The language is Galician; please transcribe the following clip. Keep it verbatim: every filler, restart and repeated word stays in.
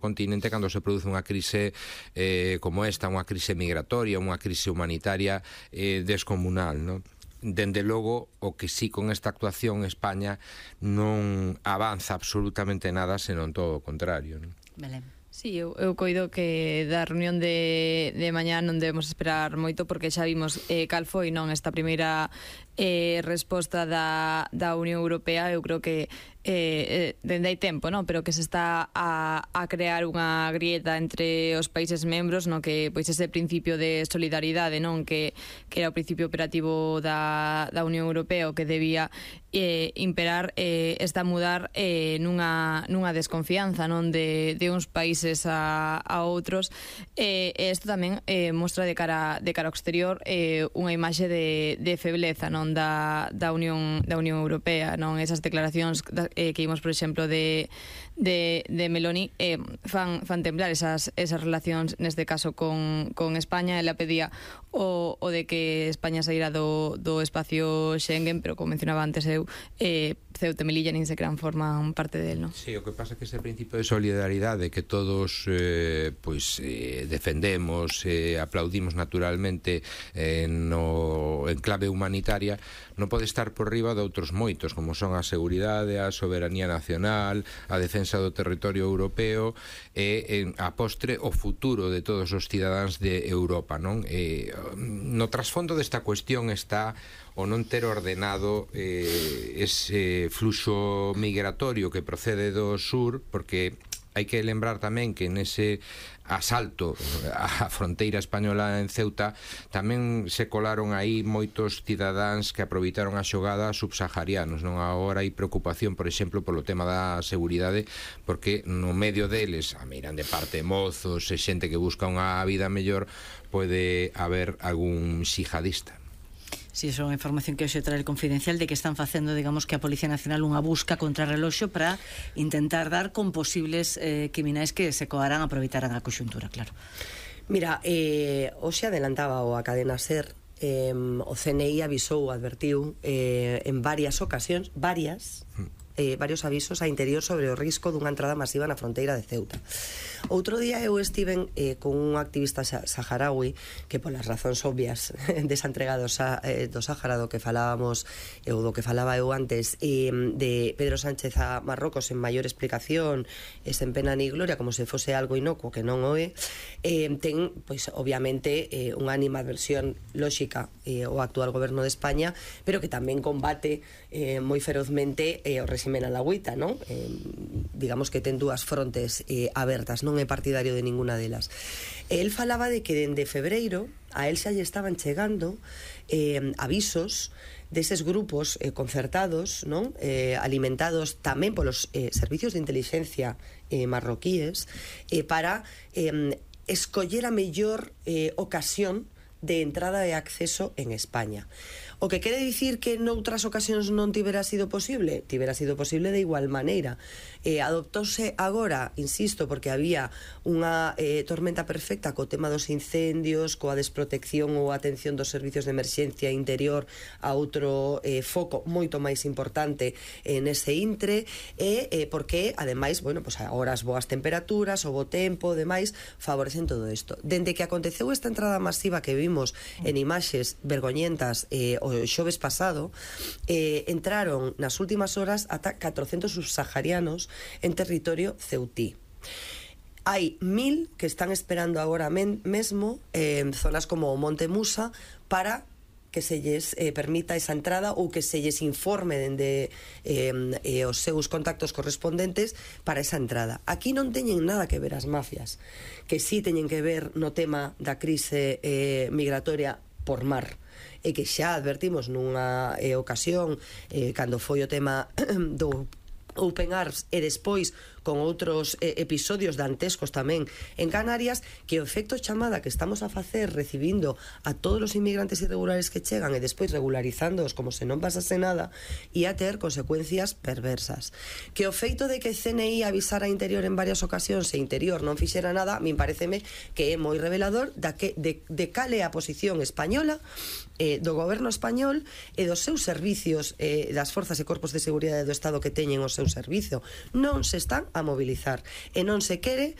continente cando se produce unha crise eh, como esta, unha crise migratoria, unha crise humanitaria eh, descomunal, non? Dende logo, o que sí con esta actuación España non avanza absolutamente nada, senón todo o contrario, non? Belén. Sí, eu, eu coido que da reunión de, de mañá non debemos esperar moito, porque xa vimos eh, cal foi non esta primeira eh, resposta da, da Unión Europea. Eu creo que eh, eh, dende hai tempo, non? Pero que se está a, a crear unha grieta entre os países membros, non? Que pois ese principio de solidaridade, non? Que, que era o principio operativo da, da Unión Europea, o que debía eh, imperar, eh, está a mudar eh, nunha, nunha desconfianza, non? De, de uns países a, a outros, e eh, isto tamén eh, mostra de cara de cara ao exterior eh, unha imaxe de, de febleza, non, da, da Unión da Unión Europea, non? Esas declaracións da, eh, que vimos, por exemplo, de de, de Meloni eh, fan, fan temblar esas, esas relacións, neste caso con, con España. Ela pedía o, o de que España saíra do, do espacio Schengen, pero como mencionaba antes eu, eh, Ceuta e Melilla nin sequera forman parte del, non? Sí, o que pasa é que ese principio de solidaridade que todos eh, pois eh, defendemos, eh, aplaudimos naturalmente eh, no, en clave humanitaria, non pode estar por riba de outros moitos, como son a seguridade, a soberanía nacional, a defensa do territorio europeo e, en, a postre, o futuro de todos os cidadáns de Europa, non? Eh, no trasfondo desta cuestión está o non ter ordenado eh, ese fluxo migratorio que procede do sur, porque hai que lembrar tamén que nese asalto á fronteira española en Ceuta tamén se colaron aí moitos cidadáns que aproveitaron a xogada subsaharianos, non? Agora hai preocupación, por exemplo, polo tema da seguridade, porque no medio deles, a miran de parte mozos e xente que busca unha vida mellor, pode haber algún xihadista. Si, sí, é unha información que hoxe trae el Confidencial, de que están facendo, digamos, que a Policía Nacional unha busca contra reloxo para intentar dar con posibles eh, criminais que se coarán, aproveitaran a conxuntura, claro. Mira, eh, hoxe adelantaba o a cadena SER, eh, o C N I avisou, advertiu eh, en varias ocasións, varias eh, varios avisos a interior sobre o risco dunha entrada masiva na fronteira de Ceuta. Outro día eu estiven eh, con un activista saharaui que, polas razóns obvias desa entrega do, sa, eh, do Sáhara, do que falábamos ou do que falaba eu antes, eh, de Pedro Sánchez a Marrocos en maior explicación e sen pena ni gloria, como se fose algo inocuo, que non o é, eh, ten, pois, obviamente eh, unha animadversión lóxica eh, o actual goberno de España, pero que tamén combate eh, moi ferozmente eh, o réximen alagüita, non? Eh, digamos que ten dúas frontes eh, abertas, non é partidario de ninguna delas. El falaba de que dende febreiro a el xa lle estaban chegando eh, avisos deses grupos eh, concertados, non? Eh, alimentados tamén polos eh, servicios de inteligencia eh, marroquíes eh, para eh, escoller a mellor eh, ocasión de entrada e acceso en España. O que quere dicir que noutras ocasións non tivera sido posible? Tivera sido posible de igual maneira. Eh, adoptouse agora, insisto, porque había unha eh, tormenta perfecta co tema dos incendios, coa desprotección ou atención dos servicios de emerxencia interior a outro eh, foco moito máis importante en ese intre, e eh, porque, ademais, bueno, pues agora as boas temperaturas, o bo tempo, demais, favorecen todo isto. Dende que aconteceu esta entrada masiva que vimos en imaxes vergoñentas eh, o xoves pasado, eh, entraron nas últimas horas ata catrocentos subsaharianos en territorio ceutí. Hai mil que están esperando agora men mesmo en eh, zonas como o Monte Musa para que se lles eh, permita esa entrada ou que se lles informe dende eh, eh, os seus contactos correspondentes para esa entrada. Aquí non teñen nada que ver as mafias, que sí teñen que ver no tema da crise eh, migratoria por mar, e que xa advertimos nunha eh, ocasión eh, cando foi o tema do Open Arms e despois con outros eh, episodios dantescos tamén en Canarias, que o efecto chamada que estamos a facer recibindo a todos os inmigrantes irregulares que chegan e despois regularizándoos como se non pasase nada, e a ter consecuencias perversas. Que o feito de que C N I avisara a Interior en varias ocasións e Interior non fixera nada, a min pareceme que é moi revelador da que, de, de cal é a posición española, eh, do goberno español e dos seus servicios, eh, das forzas e corpos de seguridade do Estado que teñen o seu servicio. Non se están a mobilizar. E non se quere